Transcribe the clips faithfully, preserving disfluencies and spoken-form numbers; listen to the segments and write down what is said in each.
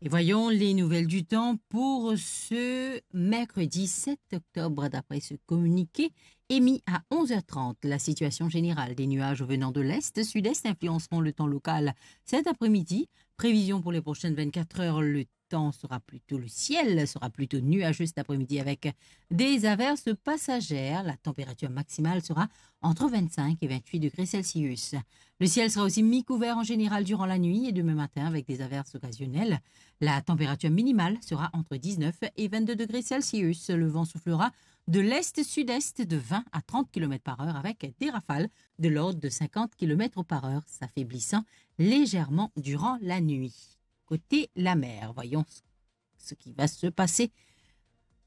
Et voyons les nouvelles du temps pour ce mercredi sept octobre, d'après ce communiqué émis à onze heures trente. La situation générale, des nuages venant de l'est, sud-est influenceront le temps local cet après-midi. Prévision pour les prochaines vingt-quatre heures, le temps sera plutôt, le ciel sera plutôt nuageux cet après-midi avec des averses passagères. La température maximale sera entre vingt-cinq et vingt-huit degrés Celsius. Le ciel sera aussi mi-couvert en général durant la nuit et demain matin avec des averses occasionnelles. La température minimale sera entre dix-neuf et vingt-deux degrés Celsius. Le vent soufflera de l'est-sud-est de vingt à trente kilomètres par heure avec des rafales de l'ordre de cinquante kilomètres par heure, s'affaiblissant légèrement durant la nuit. Côté la mer, voyons ce qui va se passer.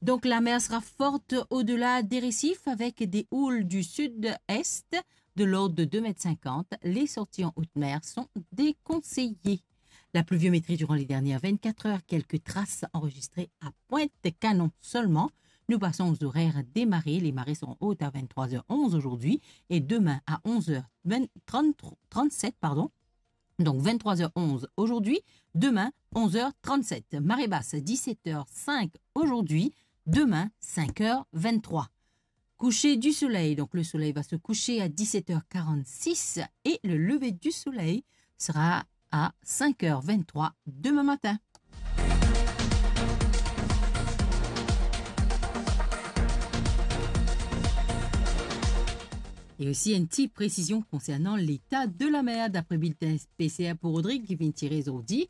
Donc la mer sera forte au-delà des récifs avec des houles du sud-est de l'ordre de deux mètres cinquante. Les sorties en haute mer sont déconseillées. La pluviométrie durant les dernières vingt-quatre heures, quelques traces enregistrées à Pointe-Canon seulement. Nous passons aux horaires des marées. Les marées seront hautes à vingt-trois heures onze aujourd'hui et demain à onze heures vingt, trente, trente-sept, pardon. Donc vingt-trois heures onze aujourd'hui, demain onze heures trente-sept. Marée basse, dix-sept heures cinq aujourd'hui, demain cinq heures vingt-trois. Coucher du soleil, donc le soleil va se coucher à dix-sept heures quarante-six et le lever du soleil sera à cinq heures vingt-trois demain matin. Et aussi une petite précision concernant l'état de la mer, d'après le bulletin spécial pour Rodrigue qui vient tirer aujourd'hui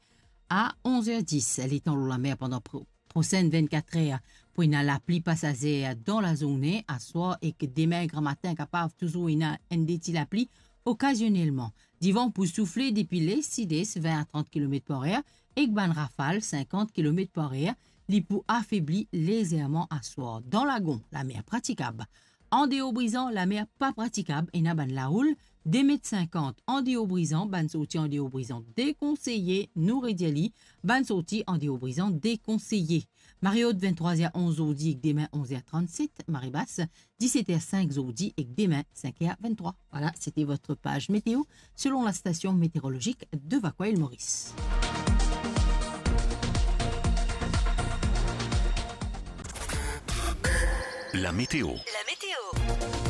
à onze heures dix. Letan lor lamer pandan pro-, prosenn vennkat er pou ena lapli pasazer dan lazourne, aswar ek demin gramatin kapav touzour ena enn de ti lapli okazionelman. Divan pou soufle depi les-sides, vin a trant kilomet par er, ek bann rafal sinkant kilomet par er, li pou afebli lezerman aswar. Dan lagon, lamer pratikab. Andeor Brizan, lamer pa pratikab, ena bann laoul de met sinkant. Andeor Brizan, bann sorti andeor Brizan dekonseye, nou redir li, bann sorti andeor Brizan dekonseye. Mare ot, venntrwa er onz zordi ek demin onz er trannset, mare bas, diset er sink zordi ek demin sink er venntrwa. Voilà, c'était votre page météo selon la station météorologique de Vacoa Île Maurice. La météo. La météo.